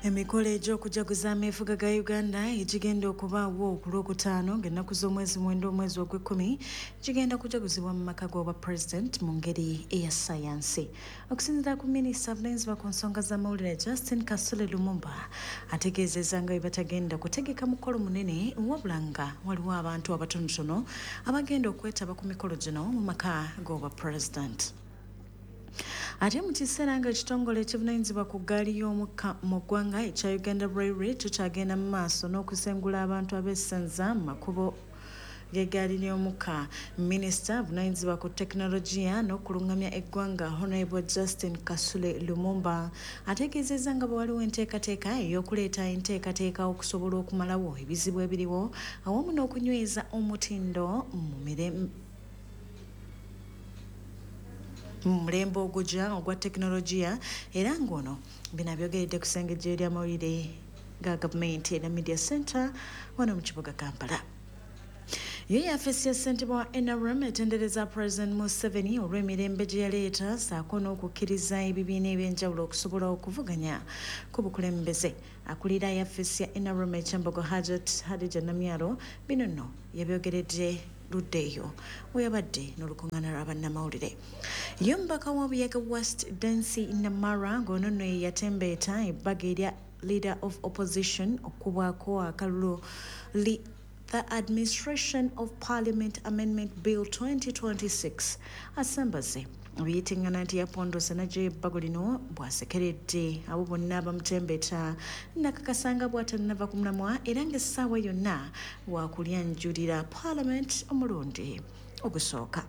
Emikolo egy'okujaguza ameefuga ga Uganda egigenda okubaawo ku Lwokutaano ng'ennaku z'omwezi 9 omwezi ogw'ekkumi gigenda kujaguzibwa mu maka g'obwa Pulezidenti mu ngeri eya ssaayansi. Okusinziira ku minisita avunaanyizibwa ku nsonga z'amawulire Justin Kasule Lumumba ategeezezza nga bwe batagenda kutegeka mukolo munene wabula nga waliwo abantu abatonotono abagenda okwetaba ku mikolo gino mu maka g'obwa Pulezidenti. Ate mu kiseera nga ekitongole ekivunanyizibwa ku ggaali y'omukka mu ggwanga ekya Uganda Railway kikyagenda mu maaso n'okusengula abantu abeesenza mu makubo g'eggaali ly'omukka, minisita avunanyizibwa ku tekinologiya n'okulungamya eggwanga Honorable Justin Kasule Lumumba ategeezezza nga bwe waliwo enteekateeka ey'okuleeta enteekateeka okusobola okumalawo ebizibu ebiriwo awamu n'okunyweza omutindo mu mirembe mu mulembe ogujja ogwa tekinologiya era ng'ono bino abyogeredde ku ssengejjero ly'amawulire ga gavumenti era Media Center wano mu kibuga Kampala. Yo yafeesi ya ssentebe wa NRM etendereza President Museveni olw'emirembe gye yaleeta ssaako n'okukkiriza ebibiina eby'enjawulo okusobola okuvuganya ku bukulembeze. Akulira yafeesi ya NRM e Kyambogo Hajat Hadija Namyalo bino nno yabyogeredde ludda eyo weyabadde n'olukuŋŋaana lwa bannamawulire. Ye omubaka wa Buyaga West Dancy Namara ng'ono nno ye yatembeeta ebbago erya Leader of Opposition okukubwako akalulu li The Administration of Parliament Amendment Bill 2026 asambaze ebiyitiŋŋana nti yapondose n'aggyayo ebbago lino bw'asekeredde abo bonna abamutembeta nakakasa nga bw'atannava ku mulamwa era ng'essaawa yonna wakulyanjulira Parliament omulundi ogusooka.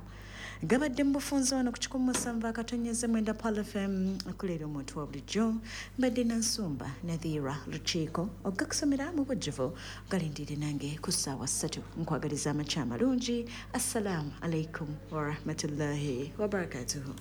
Gabadde mu bufunze wano ku 107.9 Pearl FM okuleera omuntu wa bulijjo. Mbadde Nansumba Nadhira Lukiiko ogakusomera mu bujjuvu galindirire nange ku ssaawa 3. Nkwagaliza amakya amalungi. Assalamu alaikum warahmatullahi wabarakatuhu.